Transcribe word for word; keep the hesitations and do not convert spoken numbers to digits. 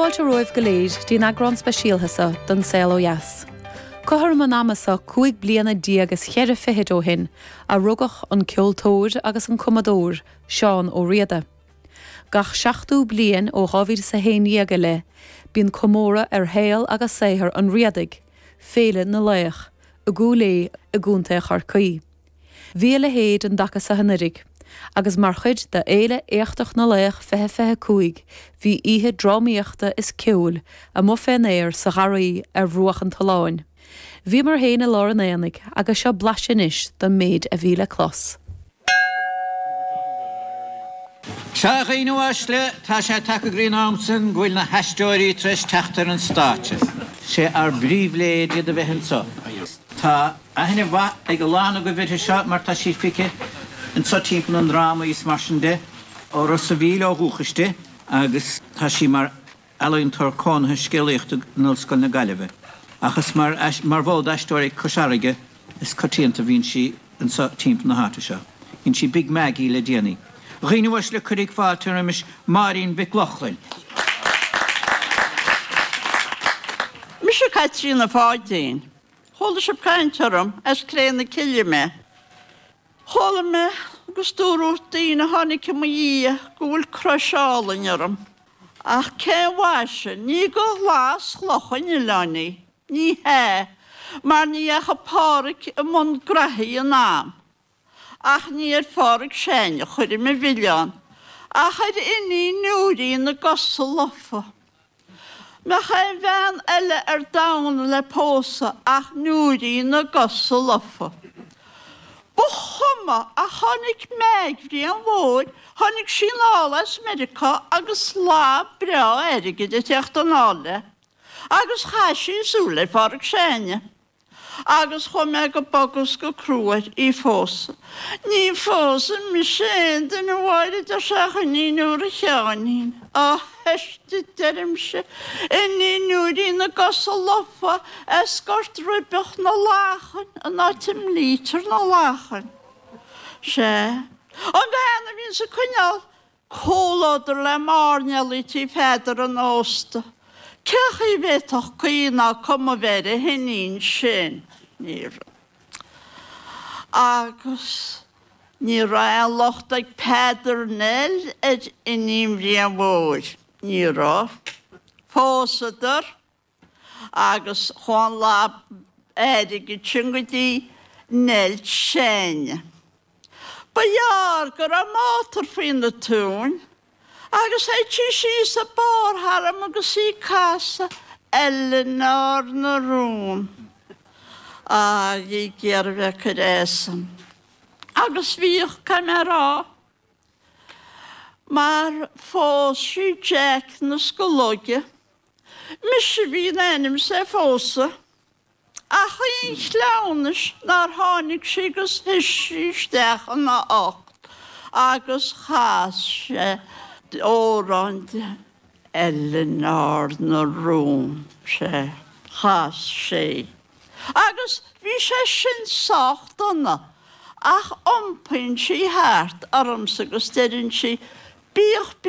fáilte romhaibh go léir dtí'n eagrán speisialta seo den Saol Ó Dheas. Cothrom an ama seo cúig bliana déag is ceithre fichid ó shin a rugadh an ceoltóir agus an cumadóir Seán Ó Riada. Gach seachtó bliain ó dhá mhíle is a haon déag i leith, bíonn comóradh ar shaol agus saothar an Riadaigh, Féile na Laoch, i gCúil Aodha i gContae Chorcaí. Bhí a leithéid an dtaca seo anuraidh, agus mar chuid de Fhéile Éachtach na Laoch fiche fiche cúig bhí oíche drámaíochta is ceoil amuigh fén aer sa gharraí ar bhruach an tolláin. Bhíomar féin i lár an aonaigh agus seo blaiseadh anois den méid a bhí le clos. Sea, a dhaoine uaisle, tá sé tagtha go dtí an am sin go bhfuil na haisteoirí tar éis teacht ar an stáitse. Sé ár bpríbhléid iad a bheith anseo. Tá aithne mhaith ag a lán agaibh uirthi seo mar tá sí feicthe anseo timpeall na ndrámaí is mar sin de. Ó Ros a' Mhíl ó dhúchas di agus tá sí mar ealaíontóir cónaithe scéalaíochta in Ollscoil na Gaillimhe. Ach is mar mar bhall d'Aisteoirí Cois Fharraige is coitianta a bhíonn sí anseo timpeall na háite seo. Dhein sí Big Maggie le déanaí. A dhaoine uaisle, cuirig fáilte roimis Máirín Mhic Lochlainn. Mise Caitríona Pháidín. Chuala sibh caint orm, as Cré na Cille mé. Chuala mé agus dúradh daoine a tháinig i mo dhiaidh go bhfuil crois álainn orm. Ach cén mhaise, ní go ghlas chloch an oileáin í, ní hea, mar ní dheachaigh Pádhraic i mbun graithí in am. Ach ní ar Phádhraic Seáin a chuirim an mhilleán, ach ar Iníon Nóirín na gcosa lofa. Mbeadh aon bhean eile ar domhan le pósadh ach Nóirín na gcosa lofa. Ba chuma ach tháinig Meaig Bhriain Mhóir, tháinig sí anall as Meiriceá agus slab breá airgid ag teacht anall léi, agus chaith sí súil ar Phádhraic Seáin. Agus chuaigh mé go bog is go crua air í phósadh. Ní phósfaidh mise aon duine a Mháire a deir sé ach iníon Úra Sheáinín. Á theist a deirimse, iníon Nóirín na gcosa lofa as Gort Ribeach na Lachan, an áit a mblítear na lachain. Sea, an bhean a bhíonns ag coinneáil comhluadar le mairnéalaigh tí Pheadair an Ósta. Cé chaoi a bhféadfadh caoi ná cuma bheith ar a hiníon sin? Ní raibh. Agus ní raibh aon locht ag Peadar Neill ar iníon Bhriain Mhóir. Ní raibh. Phósadar. Agus chuaigh an lab airgid sin go dtí Neill Seáin. Ba ghearr go raibh mátar faoi na tóin agus théid sí síos an barr tharam agus í ag casadh Eileanóir na Rún. Á, bhí ag iarraidh bheith ag cur asam. Agus bhíodh, caithfidh mé a rá, mar phós sí Jack na Scolóige. Mise a bhí in ainm is é a phósadh. Ach aon chleamhnais nár tháinig sí agus thit sí isteach ina ucht agus chas sé amhrán di, Eileanóir na Rún, sea, chas sé. Agus bhí sé sin sách dona, ach iompaíonn sí thart ormsa agus deireann sí, Bíodh.